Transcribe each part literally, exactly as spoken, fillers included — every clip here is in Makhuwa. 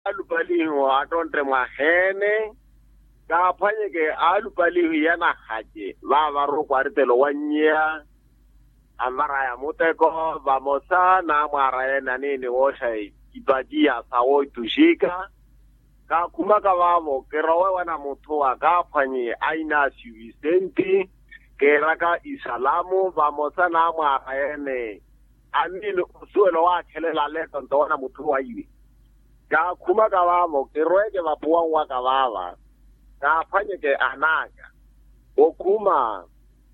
Alupalihu attontte mwaheene kaaphwanyeke alupalihu yanahace vaavaru okwaritelo wanyiya, anvaraya muteko vamosa n'amwaara yene aniini wooxa ipatiya sawo ituxika. Kaakhumaka vaavo kirowe wana mutthu akaaphwanyi a inasiyu visenti, keeraka isalamu vamosa n'amwaara yene aniini osuwela owaakhelela aleto nto wana mutthu waiwe. Kaakhumaka vaavo kirweeke vapuwanwaka vaava kaaphwanyeke anaaka okhuma,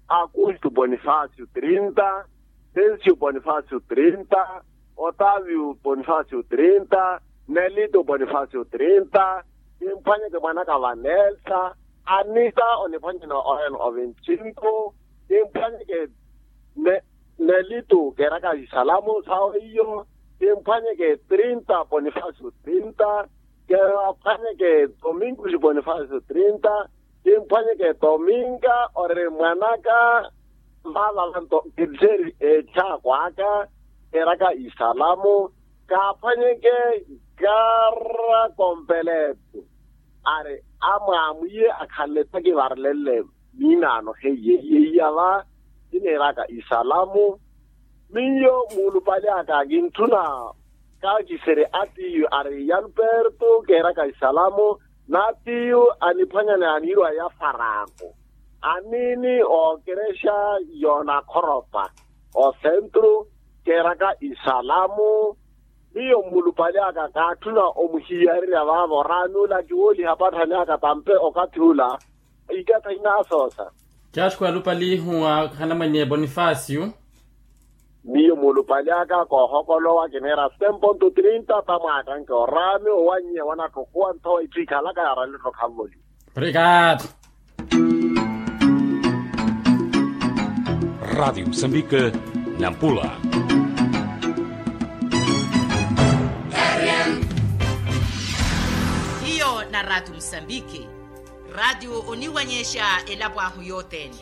akustu ponifasio trinta, sensio ponifasio trinta, otavio ponifasio trinta, nelito ponifasio trinta, kimphwanyeke mwanaka vanelta, anita oniphwanyene oven oventinku, kimphwanyeke nelito keeraka isalamu sawo iyo, kimphwanyeke trinta ponifasio trinta, kimphwanyeke tominkuxi ponifasio trinta, kimphwanyeke tominka ori mwanaka. Vaava vanto kitteri eetthaakwaka keeraka isalamu, kaaphwanyeke kara kompeletu ari amwaamwiye akhanle takivarelenle. Miinaano heiye iye iya va kiniiraka isalamu. Miyo muulupale aka kintthuna kaakiserye atiyu ari yalpertu keeraka isalamu, n'atiyu aniphwanyana ya niirwa ya faraaku aniini ookerexa yoonakhoropa osentru keeraka isalamu. Miyo mmulupale aka kaatthuna omuhiyarerya vaavo oraani ula kiwooliha apatthani aka tampe okathi ula ikatha inaasoosa. Caxko alupalihu akhanamwenye bonifasio. Miyo mulupali aka koohokolowa kineera stemponto trinta tamwaaka nkioraami owanyiya wanatthokuwa nthowa itthu ikhalaka yaaralettho khanvoliwa. Obrigado. Rádio Moçambique, Nampula. Hiyo na rádio moçambique. Rádio oniwanyexa elapo ahu yothene.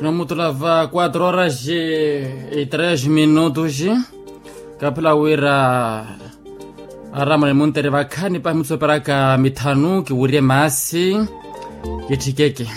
Nomutula va quatro horas e três minutos. Kapila wira aramani muntere vakhani pahi mutsoperaka mithanu kiwirye maasi. Kitthikeke.